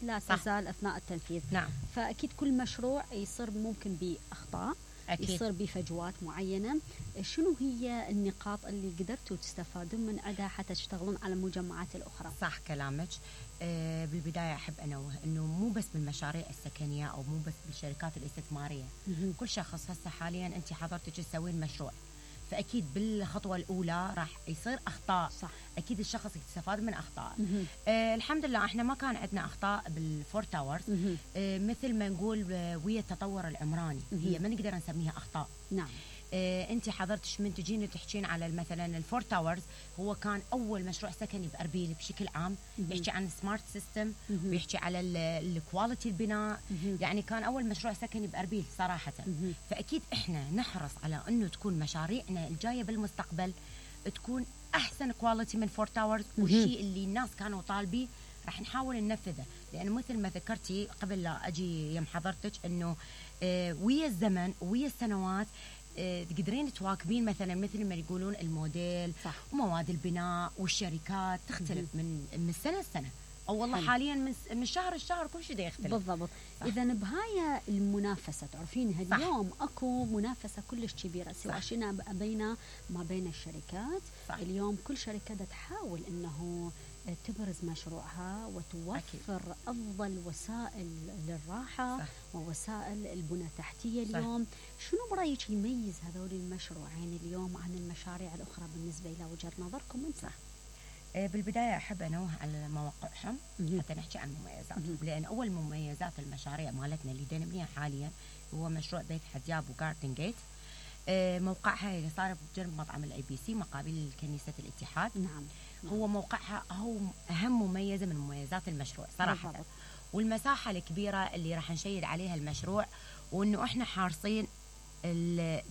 لا تزال أثناء التنفيذ. نعم. فأكيد كل مشروع يصير ممكن بأخطاء، أكيد. يصير بفجوات معينة. شنو هي النقاط اللي قدرتوا تستفادون من عندها حتى تشتغلون على المجمعات الأخرى؟ صح كلامك. بالبداية أحب أنوه أنه مو بس بالمشاريع السكنية أو مو بس بالشركات الاستثمارية. كل شخص هسه حاليا أنت حضرتك تسوين مشروع، فأكيد بالخطوة الأولى راح يصير أخطاء. صح. أكيد الشخص يستفاد من أخطاء. الحمد لله إحنا ما كان عندنا أخطاء بالفور تاورز. مثل ما نقول ويا التطور العمراني هي ما نقدر نسميها أخطاء. نعم. انت حضرتش من تجين تحكين على مثلا الفور تاورز، هو كان اول مشروع سكني باربيل بشكل عام. يحكي عن سمارت سيستم ويحكي على الكواليتي البناء. يعني كان اول مشروع سكني باربيل صراحه. فاكيد احنا نحرص على انه تكون مشاريعنا الجايه بالمستقبل تكون احسن كواليتي من فور تاورز. والشيء اللي الناس كانوا طالبيه راح نحاول ننفذه، لأنه مثل ما ذكرتي قبل لا أجي يم حضرتك أنه ويا الزمن ويا السنوات تقدرين تواكبين مثلا مثل ما يقولون الموديل. صح. ومواد البناء والشركات تختلف من سنة لسنة، أو والله حاليا من شهر لشهر كل شيء يختلف. بالضبط. إذا بهاي المنافسة تعرفين اليوم أكو منافسة كلش كبيرة، سواء شئنا أبينا ما بين الشركات. صح. اليوم كل شركة تحاول أنه تبرز مشروعها وتوفر أكيد. أفضل وسائل للراحة. صح. ووسائل البنى التحتية. اليوم شنو برأيك يميز هذول المشروعين اليوم عن المشاريع الأخرى بالنسبة إلى وجهة نظركم أنت؟ بالبداية أحب أنوه على مواقعهم حتى نحكي عن مميزاتهم، لأن أول مميزات المشاريع مالتنا اللي نبنيها حاليا هو مشروع بيت حدياب وجاردن جيت. موقعها اللي صار بجنب مطعم الABC مقابل كنيسة الاتحاد. نعم. هو موقعها هو أهم مميزة من مميزات المشروع صراحة. والمساحة الكبيرة اللي راح نشيد عليها المشروع، وإنه إحنا حارصين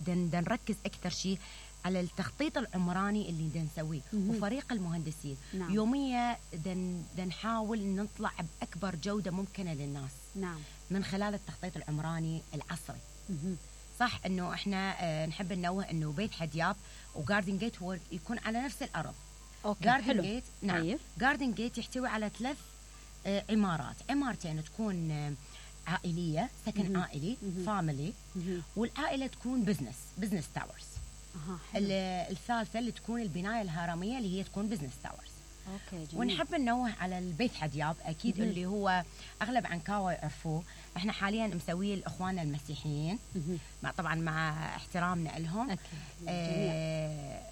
نركز أكثر شيء على التخطيط العمراني اللي نسويه وفريق المهندسين. نعم. يوميا نحاول نطلع بأكبر جودة ممكنة للناس. نعم. من خلال التخطيط العمراني العصري. صح إنه إحنا نحب ننوه إنه بيت حدياب وجاردن جيت هو يكون على نفس الأرض. جاردن جيت نعم. جاردن جيت يحتوي على 3 عمارات، عمارتين تكون عائلية سكن عائلي فاميلي، والعائلة تكون بزنس تاورز. الثالثة اللي تكون البناية الهرمية اللي هي تكون بزنس تاورز. أوكي. ونحب ننوه على البيت حدياب أكيد اللي هو أغلب عنكاوة يعرفوه. إحنا حاليا مسويه لإخواننا المسيحيين طبعا مع احترامنا لهم.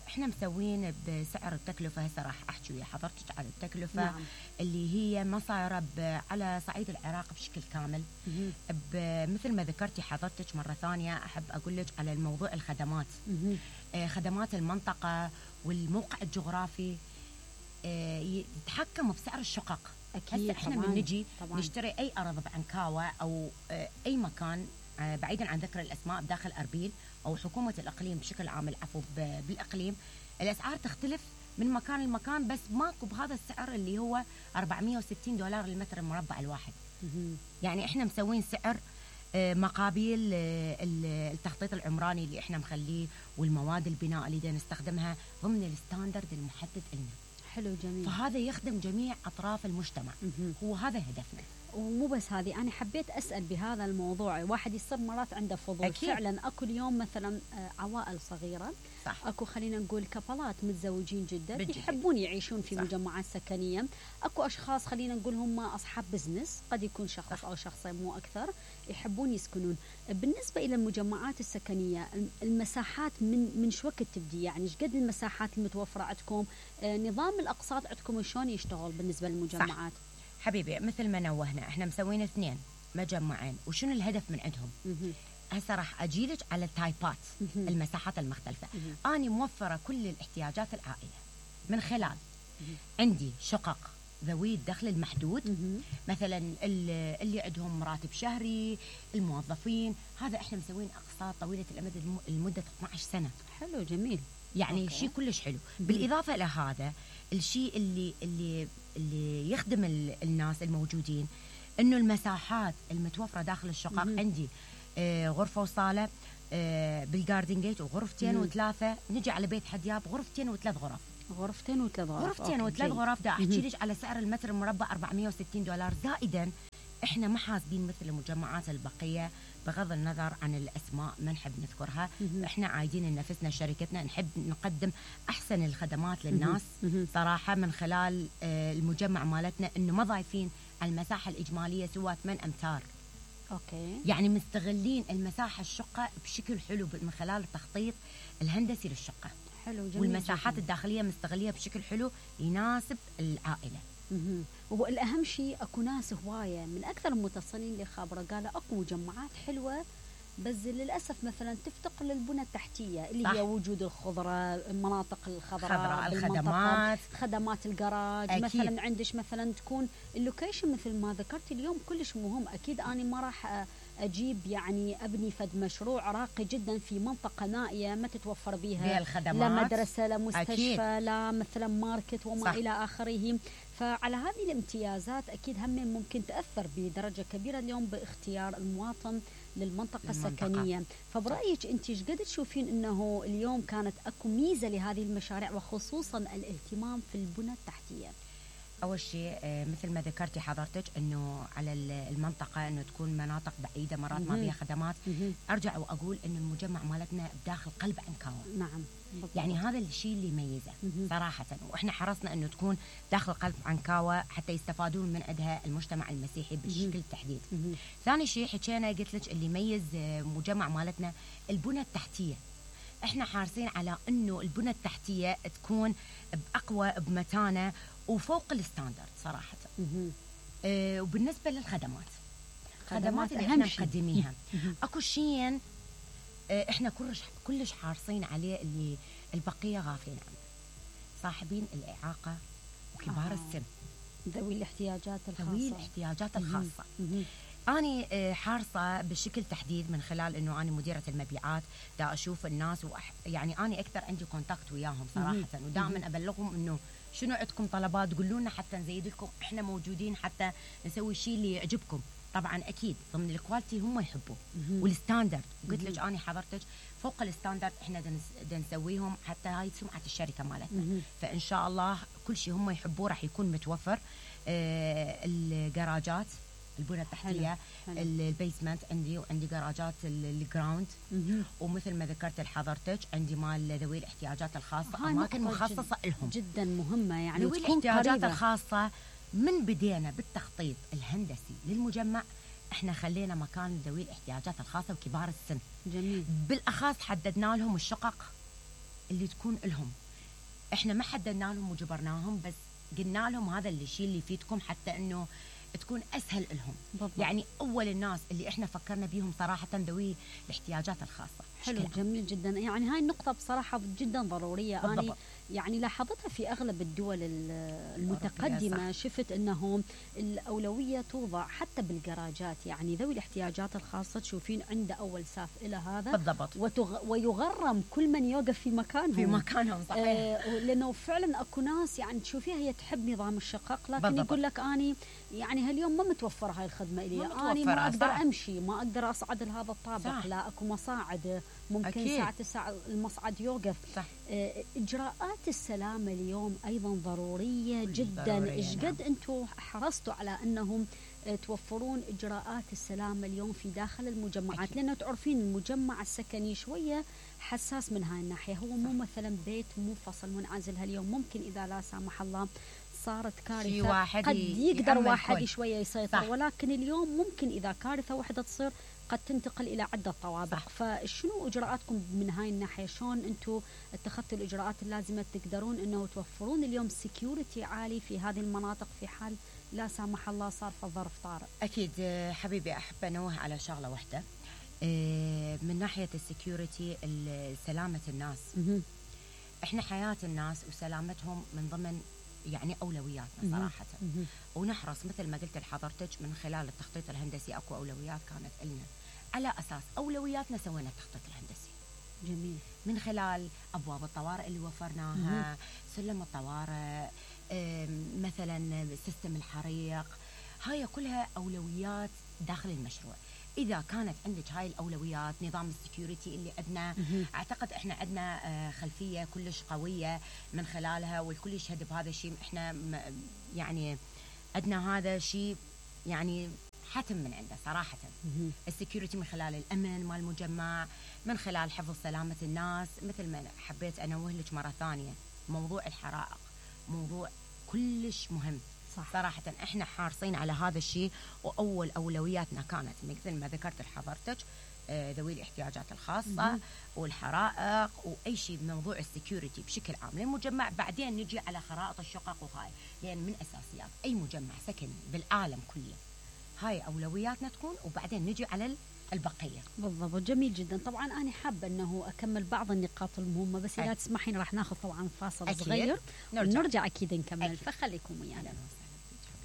إحنا مسوين بسعر التكلفة. هسه راح أحكي ويا حضرتك على التكلفة. نعم. اللي هي ما صايرة على صعيد العراق بشكل كامل. مثل ما ذكرتي حضرتك مرة ثانية أحب أقول لك على الموضوع الخدمات. خدمات المنطقة والموقع الجغرافي يتحكم بسعر الشقق. أكيد. هسه احنا من نجي نشتري أي أرض بعنكاوة أو أي مكان بعيدا عن ذكر الأسماء بداخل أربيل أو حكومة الإقليم بشكل عام، العفو بالإقليم، الأسعار تختلف من مكان لمكان، بس ماكو بهذا السعر اللي هو $460 للمتر المربع الواحد. يعني احنا مسوين سعر مقابل التخطيط العمراني اللي احنا مخليه والمواد البناء اللي نستخدمها ضمن الستاندرد المحدد لنا. حلو جميل. فهذا يخدم جميع أطراف المجتمع. هو هذا هدفنا. ومو بس هذه، أنا حبيت أسأل بهذا الموضوع. واحد يصير مرات عنده فضول. أكيد. فعلا أكو اليوم مثلا عوائل صغيرة. صح. أكو خلينا نقول كابلات متزوجين جدا يحبون يعيشون في مجمعات سكنية. أكو أشخاص خلينا نقول هم أصحاب بزنس، قد يكون شخص صح. أو شخصين مو أكثر، يحبون يسكنون. بالنسبة إلى المجمعات السكنية المساحات من شو وقت تبدي؟ يعني إيش قد المساحات المتوفرة عندكم؟ نظام الأقساط عندكم شلون يشتغل بالنسبة للمجمعات؟ صح. حبيبي مثل ما نوهنا احنا مسوين 2 مجمعين، وشنو الهدف من عندهم؟ هسه راح اجيلك على التايبات المساحات المختلفه. اني موفره كل الاحتياجات العائله من خلال عندي شقق ذوي الدخل المحدود، مثلا اللي عندهم راتب شهري، الموظفين، هذا احنا مسوين اقساط طويله الامد لمده 12 سنه. حلو جميل. يعني شيء كلش حلو. بالاضافه الى هذا الشيء اللي يخدم الناس الموجودين، انه المساحات المتوفره داخل الشقق عندي غرفه وصاله بالجاردن جيت، وغرفتين و3. نجي على بيت حدياب غرفتين و3 غرف. غرفتين و3 غرف. غرفتين و3 غرف. دا احكي لك على سعر المتر المربع $460 زائدا احنا ما حاسبين مثل المجمعات البقيه، بغض النظر عن الاسماء ما نحب نذكرها. احنا عايدين نفسنا شركتنا نحب نقدم احسن الخدمات للناس صراحه، من خلال المجمع مالتنا انه ما ضايفين على المساحه الاجماليه سوى 8 امتار. اوكي. يعني مستغلين المساحه الشقه بشكل حلو من خلال التخطيط الهندسي للشقه. حلو، جميل. والمساحات الداخليه مستغليه بشكل حلو يناسب العائله. وهو الأهم شيء أكو ناس هواية من أكثر المتصلين اللي خابرة قالوا أكو مجمعات حلوة، بس للأسف مثلا تفتقر للبنى التحتية اللي هي وجود الخضرة، المناطق الخضراء، الخدمات، خدمات الجراج. أكيد. مثلا عندش مثلا تكون اللوكيشن مثل ما ذكرت اليوم كلش مهم. أكيد أنا ما راح أجيب يعني أبني فد مشروع راقي جدا في منطقة نائية ما تتوفر بها الخدمات، لا مدرسة لا مستشفى. أكيد. لا مثلا ماركت وما صح. إلى آخره. فعلى هذه الامتيازات أكيد هم ممكن تأثر بدرجة كبيرة اليوم باختيار المواطن للمنطقة السكنية. فبرأيك أنت ايش قد تشوفين أنه اليوم كانت أكو ميزة لهذه المشاريع وخصوصا الاهتمام في البنى التحتية؟ أول شيء مثل ما ذكرتي حضرتك أنه على المنطقة أنه تكون مناطق بعيدة مرات ما فيها خدمات. أرجع وأقول أن المجمع مالتنا بداخل قلب عنكاوة. نعم. يعني هذا الشيء اللي يميزه صراحة، وإحنا حرصنا أنه تكون داخل قلب عنكاوة حتى يستفادون من عندها المجتمع المسيحي بشكل التحديد. ثاني شيء حكينا قلت لك اللي يميز مجمع مالتنا البنى التحتية. إحنا حارسين على أنه البنى التحتية تكون بأقوى بمتانة وفوق الستاندرد صراحة. وبالنسبة للخدمات، خدمات اللي احنا مقدميها اكو شيء احنا كلش حارصين عليه اللي البقية غافلين عنه، صاحبين الإعاقة وكبار السن، ذوي الاحتياجات الخاصة. ذوي الاحتياجات الخاصة. أنا حارصة بشكل تحديد من خلال إنه أنا مديرة المبيعات دا أشوف الناس يعني أنا أكثر عندي كونتاكت وياهم صراحة، ودائما أبلغهم إنه شنو عندكم طلبات قولوا لنا حتى نزيد لكم، إحنا موجودين حتى نسوي الشيء اللي يعجبكم. طبعا أكيد ضمن الكواليتي هم يحبوه والستاندرد. وقلت لك أنا حضرتك فوق الستاندرد إحنا نسويهم حتى هاي سمعة الشركة مالتنا. فإن شاء الله كل شيء هم يحبوه راح يكون متوفر. الجراجات، البنى التحتية، البيسمنت عندي، وعندي جراجات الجراوند، ومثل ما ذكرت لحضرتك عندي مال ذوي الاحتياجات الخاصة أماكن مخصصة لهم جدا مهمة. يعني ذوي الاحتياجات الخاصة من بدينا بالتخطيط الهندسي للمجمع احنا خلينا مكان ذوي الاحتياجات الخاصة وكبار السن. جميل. بالأخص حددنا لهم الشقق اللي تكون لهم، احنا ما حددنا لهم وجبرناهم، بس قلنا لهم هذا الشيء اللي يفيدكم حتى انه تكون اسهل لهم. بالضبط. يعني اول الناس اللي احنا فكرنا بيهم صراحه ذوي الاحتياجات الخاصه. حلو، جميل جدا. يعني هاي النقطه بصراحه جدا ضروريه. بالضبط. أنا يعني لاحظتها في اغلب الدول المتقدمه، شفت انه الاولويه توضع حتى بالجراجات. يعني ذوي الاحتياجات الخاصه تشوفين عنده اول ساف الى هذا بالضبط، ويغرم كل من يوقف في مكانهم صحيح. لانه فعلا اكو ناس يعني تشوفيها هي تحب نظام الشقق، لكن بالضبط. يقول لك اني يعني هاليوم ما متوفره هاي الخدمه الي، اني ما اقدر امشي، ما اقدر اصعد لهذا الطابق. صح. لا اكو مصاعد، ممكن أكيد. ساعه 9 المصعد يوقف. صح. اجراءات السلامه اليوم ايضا ضروريه جدا. ايش قد انتم حرصتوا على انهم توفرون اجراءات السلامه اليوم في داخل المجمعات؟ لانه تعرفين المجمع السكني شويه حساس من هاي الناحيه، هو مو مثلا بيت منفصل منعزل. هاليوم ممكن اذا لا سامح الله صارت كارثه قد يقدر واحد شويه يسيطر. صح. ولكن اليوم ممكن اذا كارثه واحده تصير قد تنتقل الى عده طوابق. صح. فشنو اجراءاتكم من هاي الناحيه؟ شلون انتم اتخذتوا الاجراءات اللازمه تقدرون انه توفرون اليوم سكيورتي عالي في هذه المناطق في حال لا سامح الله صار في ظرف طارئ؟ اكيد حبيبي، احب انوه على شغله واحده من ناحيه السكيورتي، سلامه الناس. احنا حياه الناس وسلامتهم من ضمن يعني اولوياتنا صراحه. ونحرص مثل ما قلت لحضرتك من خلال التخطيط الهندسي اكو اولويات كانت لنا، على اساس اولوياتنا سوينا التخطيط الهندسي. جميل. من خلال ابواب الطوارئ اللي وفرناها، سلم الطوارئ، مثلا سيستم الحريق، هاي كلها اولويات داخل المشروع. إذا كانت عندك هاي الأولويات، نظام السكيورتي اللي عندنا، أعتقد إحنا عندنا خلفية كلش قوية من خلالها، والكل يشهد بهذا الشيء. إحنا يعني عندنا هذا الشيء يعني حتم من عنده صراحه. السكيورتي من خلال الامن مال المجمع، من خلال حفظ سلامه الناس. مثل ما حبيت انوه لك مره ثانيه، موضوع الحرائق موضوع كلش مهم. صح. صراحة احنا حارصين على هذا الشيء، واول اولوياتنا كانت مثل ما ذكرت لحضرتك ذوي الاحتياجات الخاصة والحرائق واي شيء بموضوع السكيورتي بشكل عام للمجمع. بعدين نجي على خرائط الشقق وهاي، لان من اساسيات اي مجمع سكني بالعالم كله هاي اولوياتنا تكون، وبعدين نجي على البقية. بالضبط، جميل جدا. طبعا أنا حابة أنه أكمل بعض النقاط المهمة، بس إذا تسمحين راح ناخذ طبعا فاصل صغير ونرجع أكيد نكمل. فخليكم ويانا.